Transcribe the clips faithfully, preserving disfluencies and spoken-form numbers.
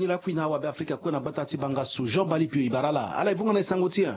Lakui na awabe afrika kue na gbata ti bangasu jean balipio e bara ala ala e vonga na e sango ti e.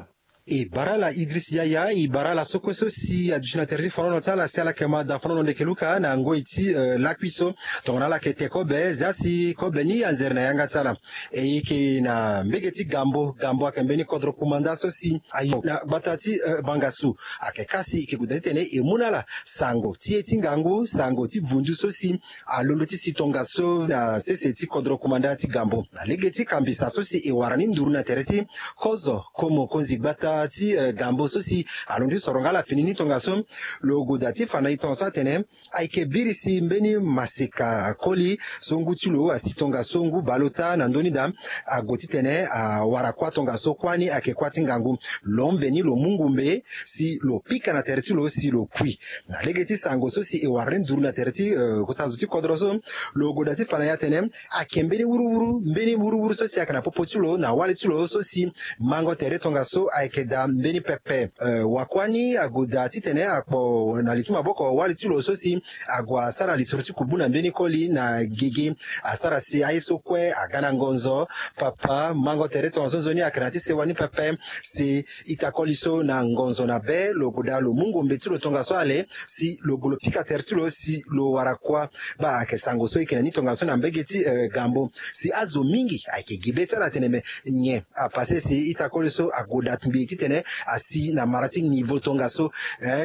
E bara ala idris yaya e bara ala so kue so si aduti na tere ti fanono ti ala si ala yeke ma da fanono ndeke luka na ngoi ti lakui so. Tongana ala yeke te kobe zia si kobe ni anzere na yanga ti ala. E yeke na mbege ti gambo gambo ayeke mbeni kodro kumanda so si ayo na gbata ti bangasu. Ayeke kasi e yeke gue daa titene e mu na ala sango ti ye ti ngangu sango ti vundu so si alondo ti si tongaso na sese ti kodro kumanda ti gambo na lege ti kambisa so si e wara ni nduru na tere ti kozo komo konzi gbata ti gambo so si alondo ti soronga ala fini ni tongaso. Lo goda ti fa na e tongaso atene ayeke biri si mbeni maseka koli so ngu ti lo asi tongaso ngu baleota na ndö ni daa. Ague titene awara kuâ tongaso kuâ ni ayeke kuâ ti ngangu. Lo mbe ni lo mu ngumbe si lo pika na tere ti lo si lo kui. Na lege ti sango so si e wara ni nduru na tere ti kota zo ti kodro so lo goda ti fa na e atene ayeke mbeni wuruwuru mbeni wuruwuru so si ayeke na popo ti lo na wali ti lo so si mango tere tongaso ayeke daa mbeni pepe. Wakuâ ni agoda titene akpo na li ti maboko wali ti lo so si ague asara lisoro ti kubu na mbeni koli na gigi. Asara si aye so kue aga na ngonzo papa mango tere tongaso nzoni ayeke na ya ti sewa ni pepe. Si ita koli so na ngonzo na be lo goda lo mu ngombe ti lo tongaso ale si lo gue lo pika tere ti lo si lo wara kuâ. Baa ayeke sango so e yeke na ni tongaso na mbege ti gambo si azo mingi ayeke gi be ti ala atene me nyen apase si ita koli so agoda ngbii titene asi na mara ti nivo tongaso.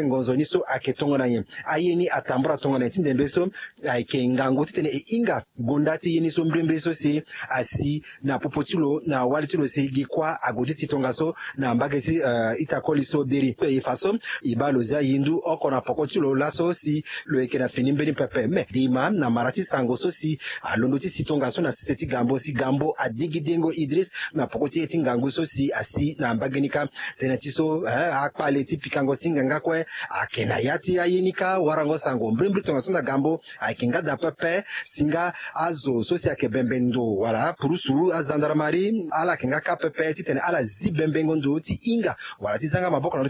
Ngonzo ni so ayeke tongana nyen? Aye ni atambara tongana nyen ti ndembe so? Ayeke ngangu titene e hinga gonda ti ye ni so mbrimbri so si asi na popo ti lo na wali ti lo si gi kuâ ague ti si tongaso na mbage ti ita koli so biri e fa so e baa lo zia yindu oko na poko ti lo laso si lo yeke na fini mbeni pepe me dima na mara ti sango so si alondo ti si tongaso na sese ti gambo si gambo adigi dengo idris na poko ti ye ti ngangu so si asi na mbage ni kâ. Tënë ti so akpale ti pikango singa nga kue ayeke na ya ti aye ni kâ warango sango mbrimbri tongaso na gambo. Ayeke nga daa pepe si nga azo so si ayeke bembe ndo wala apurusu azandarmari ala yeke nga kâ pepe titene ala zi bembengo ndo ti hinga wala ti za nga maboko na lo ti